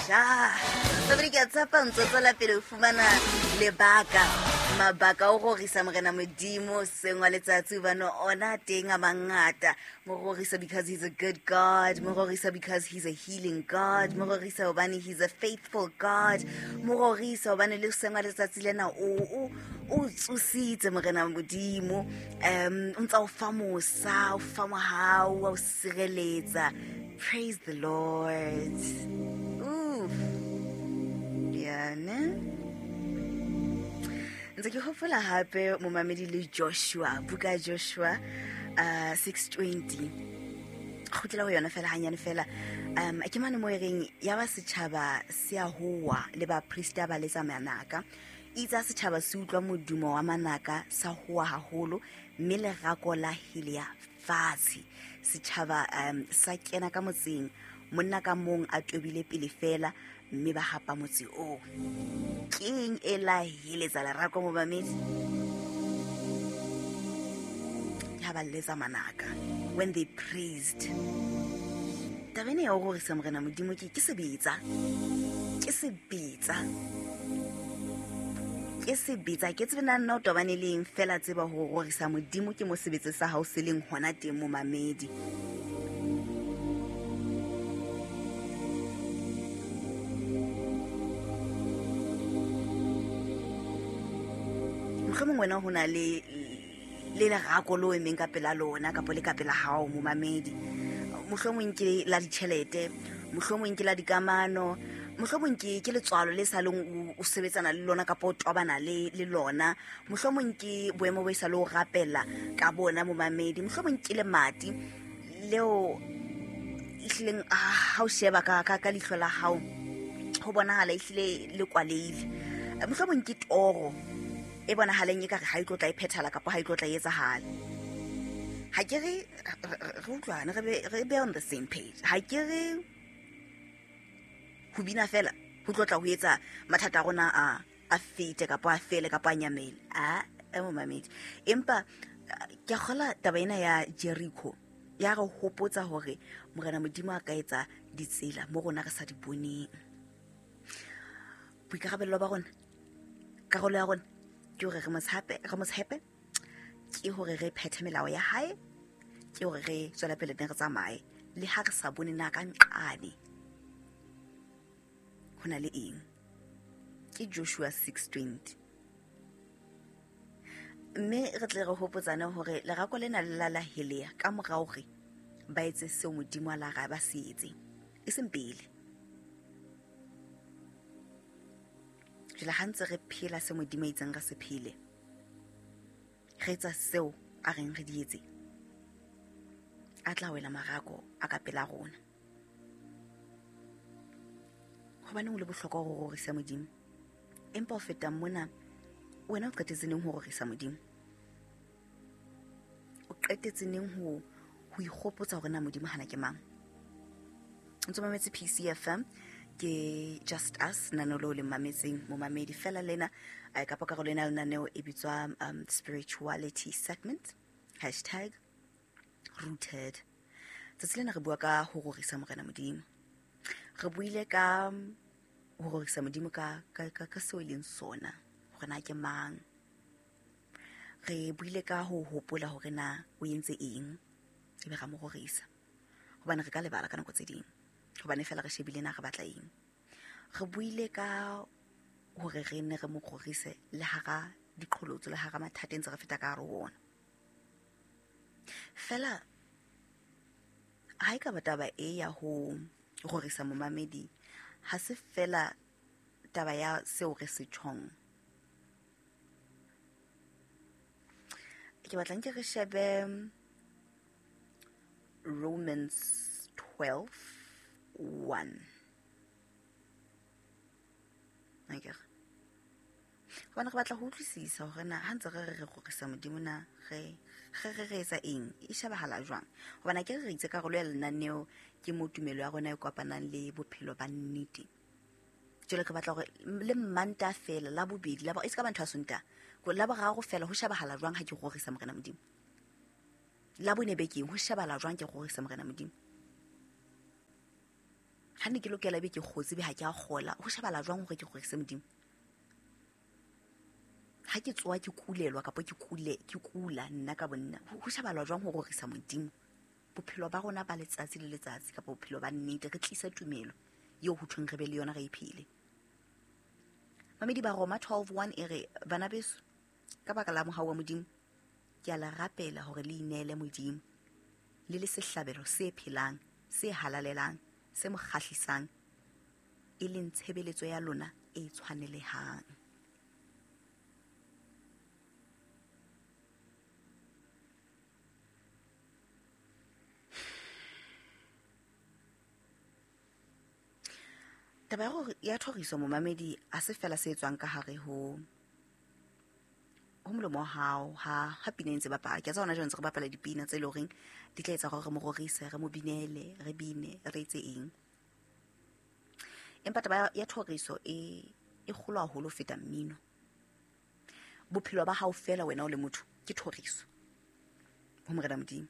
Ja. Sabri ke a tshepa ntse tswela pele ho fumana lebaka mabaka o rorisa morena modimo seng wa letsatsi hobane ona teng a mangata. Mo rorisa because he's a good God, mo rorisa because he's a healing God, mo rorisa hobane he's a faithful God, mo rorisa hobane le seng wa letsatsi lena o o tsositse morena modimo, o ntsa o fa mosa, o fa mohau, wa o sireletsa. Praise the Lord. Oof. Yeah, ne? Ntse ke hopola hape momamedi le Joshua, buka ya Joshua 6:20. Kgutlela ho yona fela hanyane fela. Ke mane mo e reng ya ba setjhaba se a howa le baprista ba letsa manaka. Itse ha setjhaba se utlwa modumo wa manaka sa howa haholo mme lerako la helea fatshe. Setjhaba sa kena ka motseng, monna ka mong a tobile pele fela mme ba hapa motse oo. Keng e la heletsa lerako momamedi? Ke ha ba letsa manaka when they praised. Taba ena ya ho rorisa morena modimo ke sebetsa. Ke sebetsa. Ke sebetsa. Ke tsebe na nna o tobane le eng fela tseba ho rorisa modimo ke mo sebetse sa hao se leng hona teng momamedi. Mohlomong wena ho na le lerako le o emeng ka pela lona kapa le ka pela hao momamedi. Mohlomong ke la ditjhelete, mohlomong ke la dikamano, mohlomong ke letswalo le sa leng o sebetsana le lona kapa o tobana le lona, mohlomong ke boemo bo e sa le o rapela ka bona momamedi, mohlomong ke lemati leo ehlileng ha o sheba ka leihlo la hao ho bonahala ehlile le kwaleile, mohlomong ke toro e bonahaleng ekare ha e tlo tla e phethala kapa ha e tlo tla e etsahala. Ha ke re re utlwane, re be on the same page. Ha ke re ho bina fela ho tlo tla ho etsa mathata a rona a fete kapa a fele kapa a nyamele. A momamedi. Empa ke a kgola taba ena ya Jericho ya re hopotsa hore morena modimo a ka etsa ditsela mo rona re sa di boneng. Boikarabello ba rona, karolo ya rona ke hore re mo tshepe, ke hore re phethe melao ya hae, ke hore re tswele pele ne re tsamaye le ha re sa bone na ka nqane ho na le eng. Ke Joshua 6:20. Mme re tle re hopotsane hore lerako lena le la la helea ka morao hore ba etse seo modimo a la ra ba se etse, e seng pele. Jwale ha ntse re phela se modimo a itseng re se phele, re etsa seo a reng re di etse, a tla wela marako a ka pela rona. Hobaneng o le bohlokwa ho rorisa modimo? Empa ho feta mona, wena o qetetse neng ho rorisa modimo? O qetetse neng ho ikgopotsa hore na modimo hana ke mang? Ntse mametse PCFM, ke Just Us, lenaneo leo le mametseng momamedi fela lena, kapa karolo ena lenaneo e bitswa spirituality segment, hashtag rooted. Tsatsi lena re bua ka ho rorisa morena modimo. Re buile ka ho rorisa modimo ka seo e leng sona, hore na ke mang. Re buile ka ho hopola hore na o entse eng, ebe ra mo rorisa. Hobane re ka lebala ka nako tse ding, hobane fela re shebile na re batla eng. Re buile ka hore re ne re mo rorise le hara diqholotso, le hara mathata ntse re feta ka hare ho ona. Fela ha e ka ba taba e ya ho rorisa momamedi, ha se fela taba ya seo re se tjhong. Ke batla nke re shebe Romans 12:1. Akere? Hobane re batla ho utlwisisa hore na ha ntse re re re rorisa modimo na re etsa eng, e shebahala jwang. Hobane akere re itse karolo ya lenaneo ke mo tumelo ya rona e kopanang le bophelo ba nnete. Jwale re batla hore le Mmantaha fela, la bobedi, la bo-, e se ka ba ntho ya Sontaha, ko la boraro fela ho shebahala jwang ha ke rorisa morena modimo. La bone bekeng ho shebahala jwang ke rorisa morena modimo. Ha ne ke lokela ebe ke kgotse ebe ha ke a kgola, ho shebala jwang hore ke rorise Modimo? Ha ke tsoha ke kulelwa kapa ke kule, ke kula nna ka bonna, ho shebala jwang ho rorisa Modimo? Bophelo ba rona ba letsatsi le letsatsi kapa bophelo ba nnete, re tlisa tumelo eo ho thweng re be le yona, re e phele. Mamedi ba Roma 12:1 e re, bana beso, ka baka la mohau wa Modimo, ke a le rapela hore le ineele Modimo le le sehlabelo se phelang, se halalelang, se mo kgahlisang, e leng tshebeletso ya lona e tshwanelehang. Taba ya hore ya thoriso momamedi a se fela se etswang ka hare ho molomo wa hao ha pina e ntse bapala. Ke a tseba hona jwale ntse re bapala dipina tse leng horeng di tla etsa hore re mo rorise, re mo binele, re bine, re etse eng. Empa taba ya thoriso e kgolo haholo ho feta mmino. Bophelo ba hao fela wena o le motho ke thoriso ho Morena Modimo.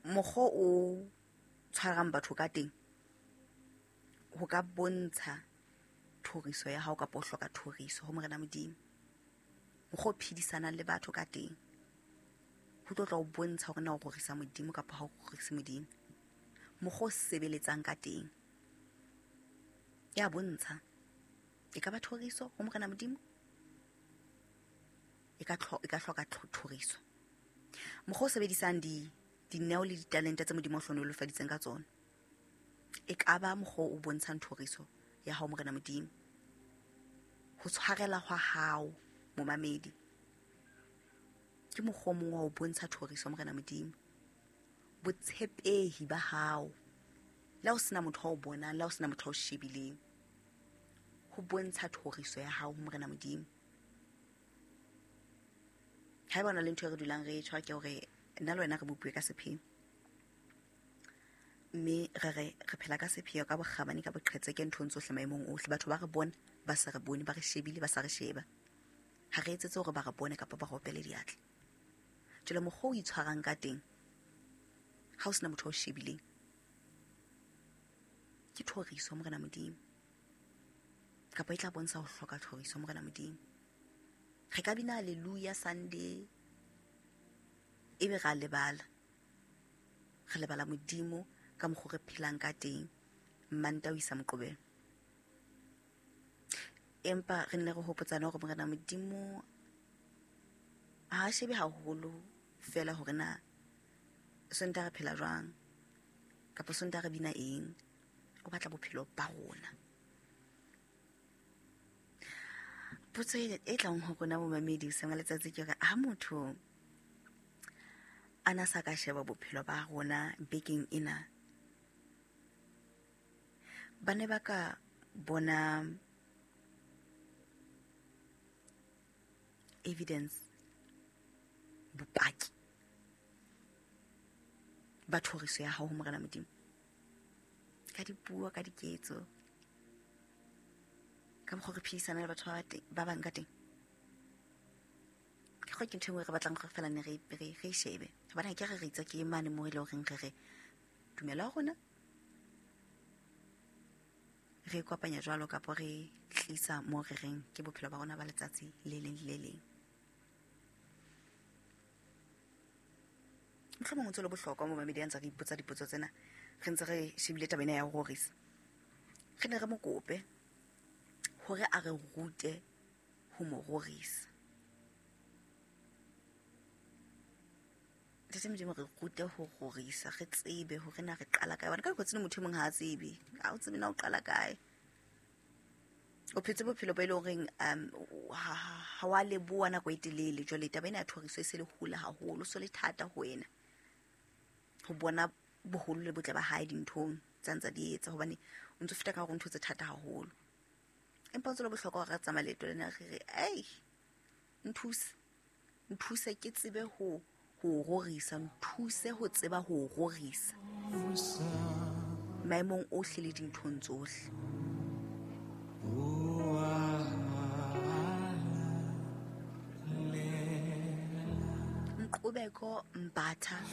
Mokgwa o tshwarang batho ka teng ho ka bontsha thoriso ya hao kapa o hloka thoriso ho Morena Modimo. Mokgwa o phedisanang le batho ka teng ho tlo tla o bontsha hore na o rorisa Modimo kapa ha o rorise Modimo. Mokgwa o sebeletsang ka teng ya bontsha e ka ba thoriso ho Morena Modimo, e ka hloka thoriso. Mokgwa o sebedisang dineo le ditalente tse Modimo o hlohonolofaditseng ka tsona e ka ba mokgwa o bontshang thoriso ya hao Morena Modimo. Ho tshwarela hwa hao momamedi ke mokgwa o mongwe wa ho bontsha thoriso Morena Modimo. Botshepehi ba hao le ha o sena motho ao bonang, le ha o sena motho ao shebileng, ho bontsha thoriso ya hao ho Morena Modimo. Haeba o na le ntho e re dulang re e tjho ke hore nna le wena re bopuwe ka sepheo, mme re re phela ka sepheo, ka bokgabane, ka boqhetseke nthong tsohle, maemong ohle. Batho ba re bone, ba sa re bone, ba re shebile, ba sa re sheba. Ha re etsetse hore ba re bone kapa ba re opele diatla. Jwale mokgwa o itshwarang ka teng ha o sena motho o shebileng ke thoriso Morena Modimo, kapa e tla bontsha ho hloka thoriso Morena Modimo. Re ka bina hallelujah Sunday ebe ra lebala, re lebala Modimo ka mokgwa re phelang ka teng Manta ho isa Moqebelo. Empa re nne re hopotsane hore Morena Modimo ha a shebe haholo fela hore na Sontaha re phela jwang kapa Sontaha re bina eng. O batla bophelo ba rona. Potso e tlang ho rona momamedi hoseng wa letsatsi ke hore ha motho a na sa ka sheba bophelo ba rona bekeng ena, ba ne ba ka bona evidence, bopaki ba thoriso ya hao ho Morena Modimo ka dipuo, ka diketso, ka mokgwa re phedisana le batho ba bang ka teng. Ke go ke ntho e nngwe re batlang gore fela ne re e shebe, hobane ha ke re re itse ke mane moo e le horeng re re tumelo ya rona re kopanya jwalo kapa re tlisa mo re reng ke bophelo ba rona ba letsatsi le leng le leng. Mohlomong o ntse o le bohlokwa mo mamedi a ntse re ipotsa dipotso tsena, re ntse re shebile taba ena ya ho rorisa. Re ne re mo kope hore a re rute ho mo rorisa. Ntate Modimo, re rute ho rorisa, re tsebe hore na re qala kae. Hobane ka nako tse ding motho e mong ha a tsebe, ha o tsebe na o qala kae. O phetse bophelo bo e leng horeng ha wa leboha nako e telele. Jwale taba ena ya thoriso e se le hole haholo, so le thata ho wena ho bona boholo le botle ba hae dinthong tsa ntsa di etsa, hobane o ntso feta ka hore ntho tse thata haholo. Empa ho ntse le bohlokwa hore re tsamaye leeto lena re re, ei, nthuse, nthuse ke tsebe ho rorisa, nthuse ho tseba ho rorisa maemong ohle le dinthong tsohle. Nqubeko Mbatha.